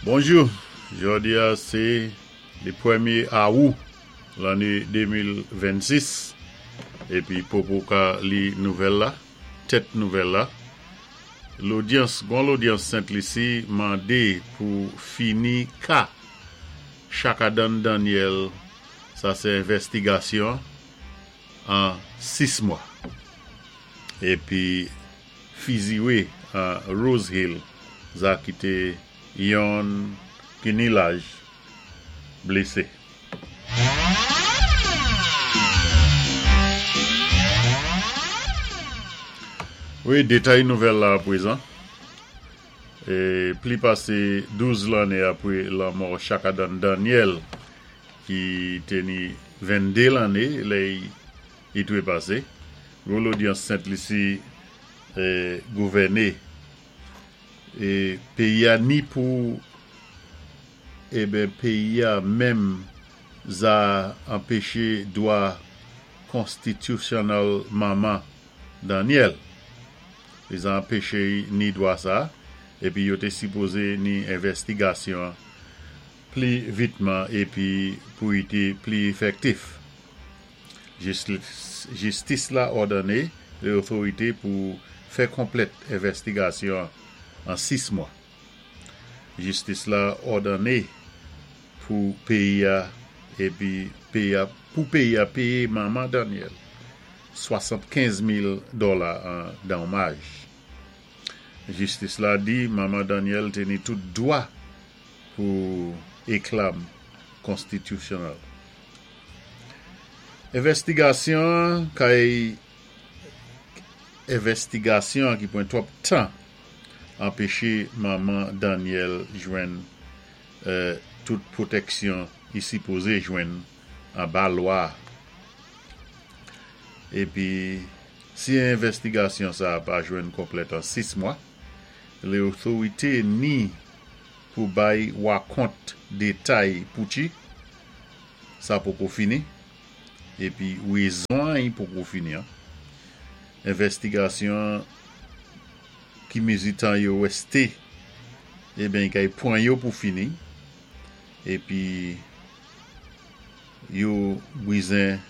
Bonjou, jòdi a sé le pwémyé Awou lanné 2026 épi poko ka li nouvèl la, tèt nouvèl la. Lodyans, gon lodyans Sent Lisi mandé pou fini ka Chakadan Daniel sa sé envèstigasyon an 6 mwa épi fiziwé an Rose Hill za kité yonn ki ni laj blésé. Wi, detay nouvèl la apwezan. Pli pasé 12 lanné apwé lanmò Chakadan Daniel ki té ni 22 lanné lè i twépasé, gwo lodyans Sent Lisi gouvèné peyi a ni pou eben peyi a menm za anpeche dwa konstitisyonèl manman Daniel. Li za anpeche ni dwa sa epi yo te sipoze ni envèstigasyon pli vitman epi pou i te pli efèktif. Jistis la òdone le otorite pou fè konplèt envèstigasyon an 6 mwa. Jistis la òdone pou peyi a epi peyi a pou peyi a peye manman Daniel 75 mil dòla an donmaj. Jistis la di manman Daniel te ni tout dwa pou eklam konstitisyonèl. Envèstigasyon an kay Envèstigasyon an ki pran twòp tan anpeche manman Daniel jwenn tout pwotèksyon li sipoze jwenn anba lwa a. Epi si envèstigasyon sa a pa jwenn konplèt an 6 mwa, le otorite ni pou bay wakont detay poutchi sa poko fini epi rezon an i poko fini an envèstigasyon an ki mezi tan yo rèste eben i kay pwan yo pou fini epi yo bwizen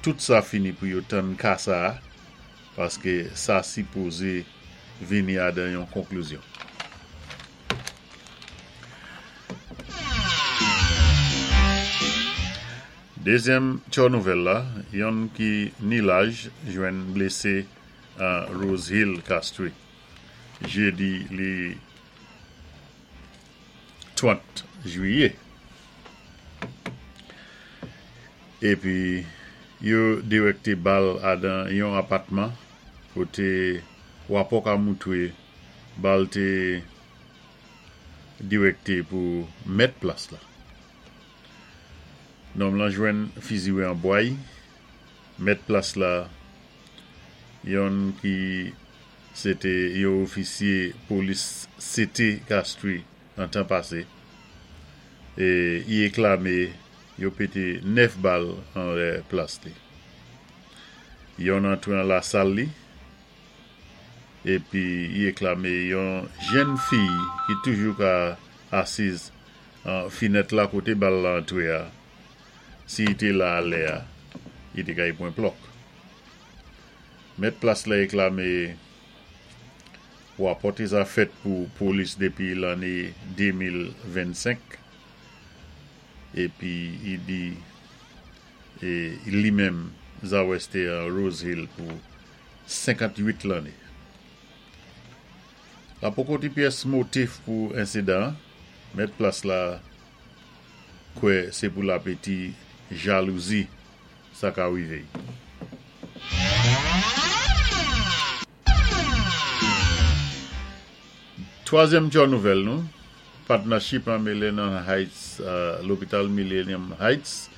tout sa fini pou yo tann ka sa paske sa sipoze vini adan yon konklizyon. Dezyèm tchò nouvèl la, yonn ki ni laj jwenn blese an Rose Hill, Castries, jedi le 30 jwiyè. Epi yo dirèkte bal adan yon apatman kote wapò ka moutre bal te dirèkte pou mèt plas la. Nonm lan jwenn fiziwe an bway, mèt plas la, yonn ki se te yon ofisye polis sete Castries nan tan pase, e i eklame yo pete 9 bal anlè plas li. Yonn antre an lasal li, epi i eklame yon jenn fiy ki toujou ka asiz an finèt la kote bal la antre a, si i te la a lè a, i te ka i pwen plòk. Mèt plas la eklame Rapòte sa fèt pou polis depi lanne 2025, epi i di e li menm Zawès te an Rose Hill pou 58 lanne. La poko ti pyès motif pou ensidan an, mèt plas la kwè se pou lapeti jalouzi sa ka rive. Twazyèm tchò nouvèl nou, Patnachip an Millennium Heights, Lopital Millennium Heights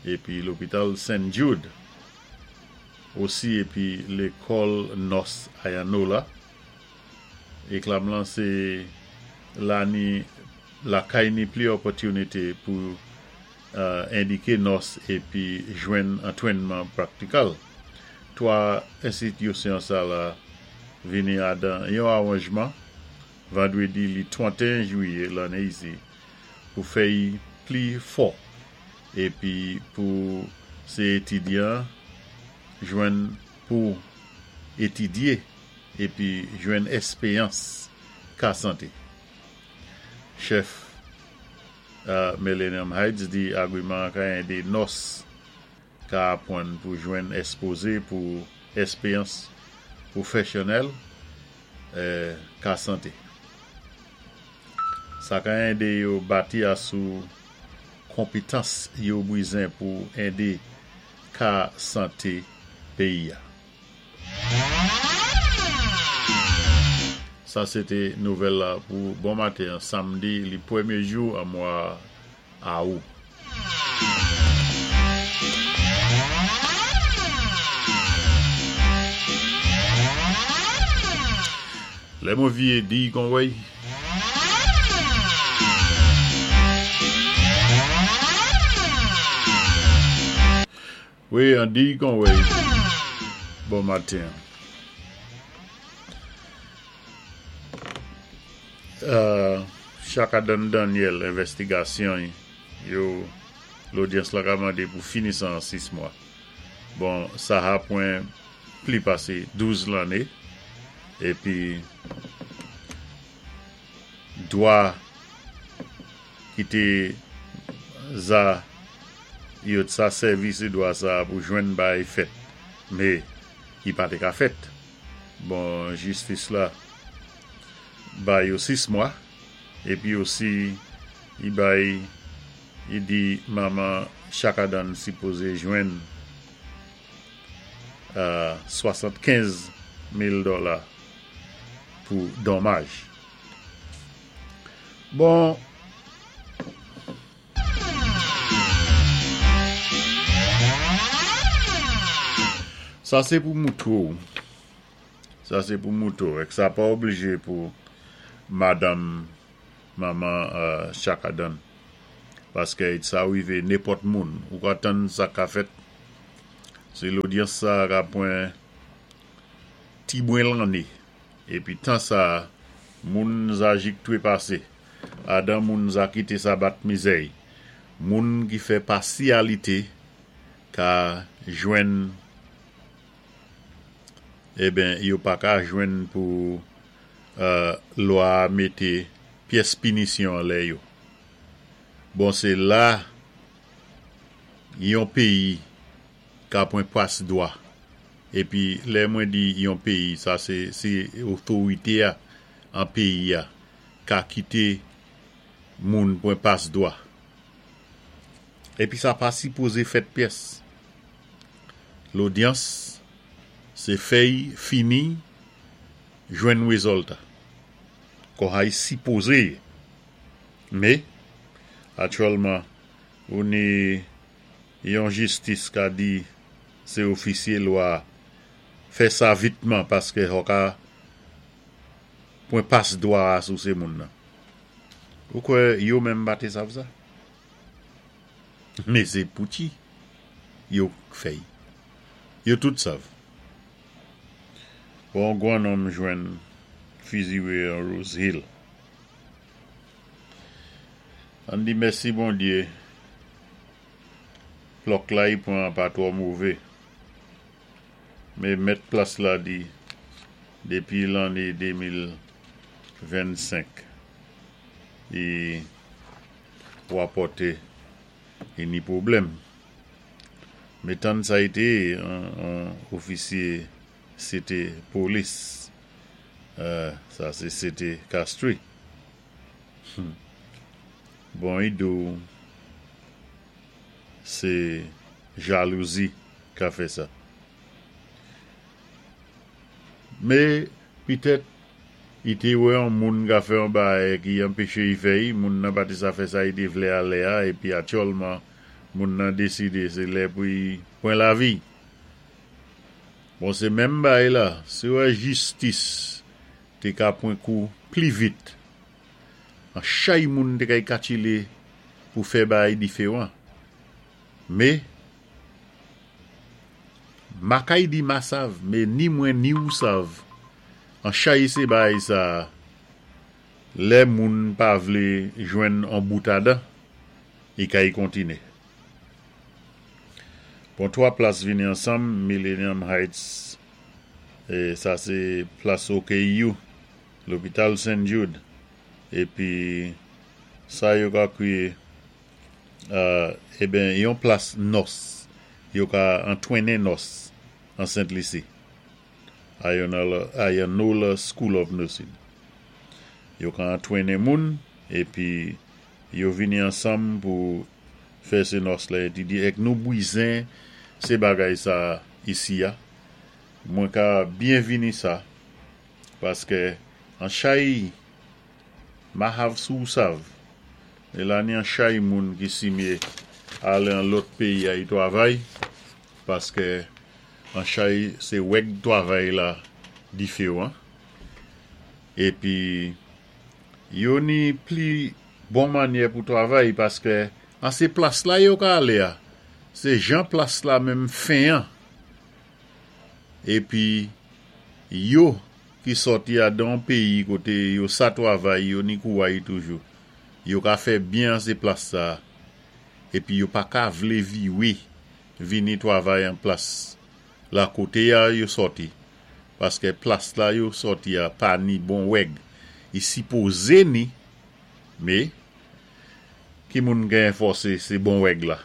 epi Lopital Saint Jude osi epi Lekòl North Ayanola. Eklam lan se la ni lakay ni pli opòtinite pou endike nòs epi jwenn antrennman praktikal. 3 enstitisyon sa la vini adan yon aranjman. Vandwédi li 31 Jwiyé lanné isi pou fè-y pli fò épi pou sé étidyan jwenn pou étidyé épi jwenn èspéyans ka santé. Chèf Millennium Heights di agwiman an ka édé nòs ka apwann pou jwenn èspoze pou èspéyans pwofèsyonnèl ka santé. Sa ka édé yo bati asou konpétans yo bwizen pou édé ka santé péyi-a. Sa sé té nouvèl la pou bon maten an samdi li pwémyé jou an mwa Awou. Lè mwen viyé di kon wèy. Wi an di kon wèy. Bon maten. Chaka Don Daniel envèstigasyon yo lodyans la ka mande pou fini sa an 6 mwa. Bon sa ha pwen pli pase 12 lanne epi dwa ki te za yo t sa sèvi se dwa sa pou jwenn bay fèt me ki pa te ka fèt. Bon jistis la bay yo 6 mwa epi osi li bay li di manman chakadann sipoze jwenn 75 mil dola pou donmaj bon. Sa sé pou moutré w. Sa sé pou moutré w. Èk sa pa oblijé pou madanm manman Chakadann. Paskè sa rivé nenpòt moun. Ou ka tann sa ka fèt. Si lodyans sa ka pwan ti bwen lanné. Épi tan sa moun za jik twépasé. Adan moun za kité sa bat mizèy. Moun ki fè pasyalité ka jwenn eben yo pa ka jwenn pou lwa a mété pyès pinisyon anlè yo. Bon sé la yon péyi ka pwan pas dwa. Épi lè mwen di yon péyi sa sé si otorité a an péyi a ka kité moun pwan pas dwa. Épi sa pa sipoze fèt pyès. Lodyans sé fèy fini jwenn wézòlta. Kò hay sipoze yé. Mé, aktyèlman ou ni yon jistis ka di sé ofisye lwa fè sa vitman paskè hò ka pwan pas dwa a sou sé moun nan. Ou kwè yo menm pa té sav sa? Mé sé pouti yo k fè-y. Yo tout sav. Bon gwan nonm jwenn fiziwé an Rose Hill. Ann di mèsi Bondyé plòk la y pwan an pa twò mové. Mé mèt plas la di dépi lanné 2025 li wapòté li ni pwoblèm. Mé tann sa y té on ofisyé sé té polis sa sé sé té Castries. Bon y di w sé jalouzi ka fè sa. Mé pitèt i té wè on moun ka fè on baay ki anpeché i fè i, moun nan pa té sa fè sa i té vlé a lè a épi atyòlman moun nan désidé sé lè pou i pwan lavi. Bon sé menm baay la, si w wè jistis té ka pwan kou pli vit, an chay moun té kay katchilé pou fè baay diféwan. Mé Makay di ma sav, mé ni mwen ni ou sav, an chay sé baay sa. Lè moun pa vlé jwenn an bout adan, i kay kontiné. Bon, 3 plas vini ansanm, Millennium Heights, sa sé plas OKU, lopital St. Jude, épi sa yo ka kwiyé, eben yon plas nòs, yo ka antwennen nòs an Sent Lisi, Ionola School of Nursing. Yo ka antwennen moun, épi yo vini ansanm pou fè sé nòs la étidye èk nou bwizen sé bagay sa isi a. Mwen ka byenvini sa paskè an chay ma hav si w sav e la ni an chay moun ki simye ale an lòt peyi ay twavay paskè an chay sé wèg twavay la diféwan épi yo ni pli bon manyè pou twavay paskè an sé plas la yo ka ale a sé jan plas la menm fen an épi yo ki sòti adan on peyi koté yo sa twavay yo ni kouway toujou yo ka fè byen an sé plas sa épi yo pa ka vlé viwé vini twavay an plas la koté a yo sòti paskè plas la yo sòti a pa ni bon wèg i sipozé ni mé ki moun ka enfòsé sé bon wèg la.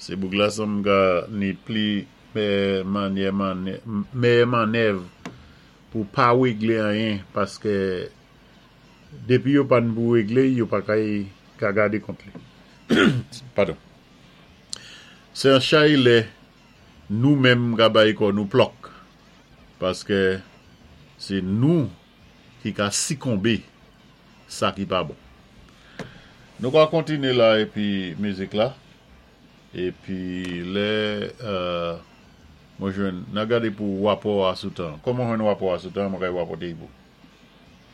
Sé bouk la san m ka ni pli mèyè manyè mèyè mannèv pou pa wéglé anyen paskè dépi yo pa n pou wéglé yo pa kay ka gadé kont li. Padon. Sé an chay lè nou menm ka bay kò nou plòk paskè sé nou ki ka sikonbé sa ki pa bon. Nou ka kontiné la épi mizik la épi lè mwen jwenn na gadé pou wapò a sou tan. Kòm mwen jwenn wapò a sou tan mwen kay wapòté y pou.